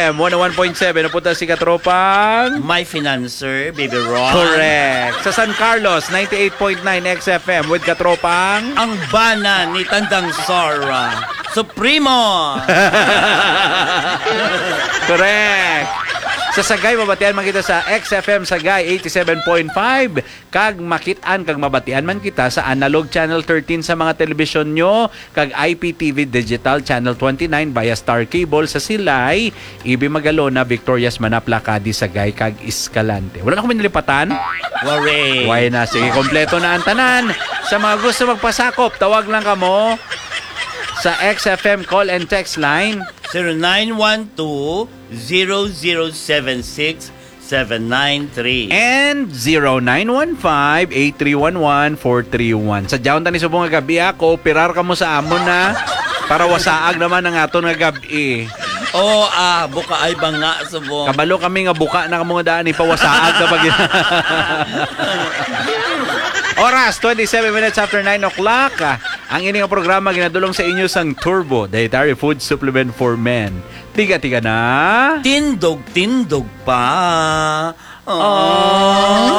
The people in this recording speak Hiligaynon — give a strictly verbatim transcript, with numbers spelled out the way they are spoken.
M one oh one point seven, napunta si Katropang. My financer, Baby Ron. Correct. Sa San Carlos, ninety-eight point nine X F M with Katropang. Ang bana ni Tandang Sora. Supremo! Correct. Sa Sagay, mabatian man kita sa X F M Sagay eighty-seven point five. Kag makit-an kag mabatian man kita sa analog channel thirteen sa mga telebisyon nyo, kag I P T V digital channel twenty-nine via Star Cable sa Silay, Ibi Magalona, Victorias, Manapla, Cadiz, Sagay, kag Escalante. Wala na ko may nalipatan? Waray. Way na. Sige, kompleto na ang tanan. Sa mga gusto magpasakop, tawag lang kamo sa X F M call and text line. Zero nine one two, zero zero seven six, seven nine three. And zero nine one five, eight three one one, four three one. Sa jaon tani subong nga gabi, ah, kooperar kamo sa amon na para wasaag naman ang aton nga gabi. Oh, ah, buka ay banga subong. Kabalo kami nga buka na kamo nga daan, ipawasaag na pag Oras, twenty-seven minutes after nine o'clock. Ah, ang ini nga programa ginadulong sa inyo sang Turbo Dietary Food Supplement for Men. Tiga-tiga na. Tindog-tindog pa. Oh.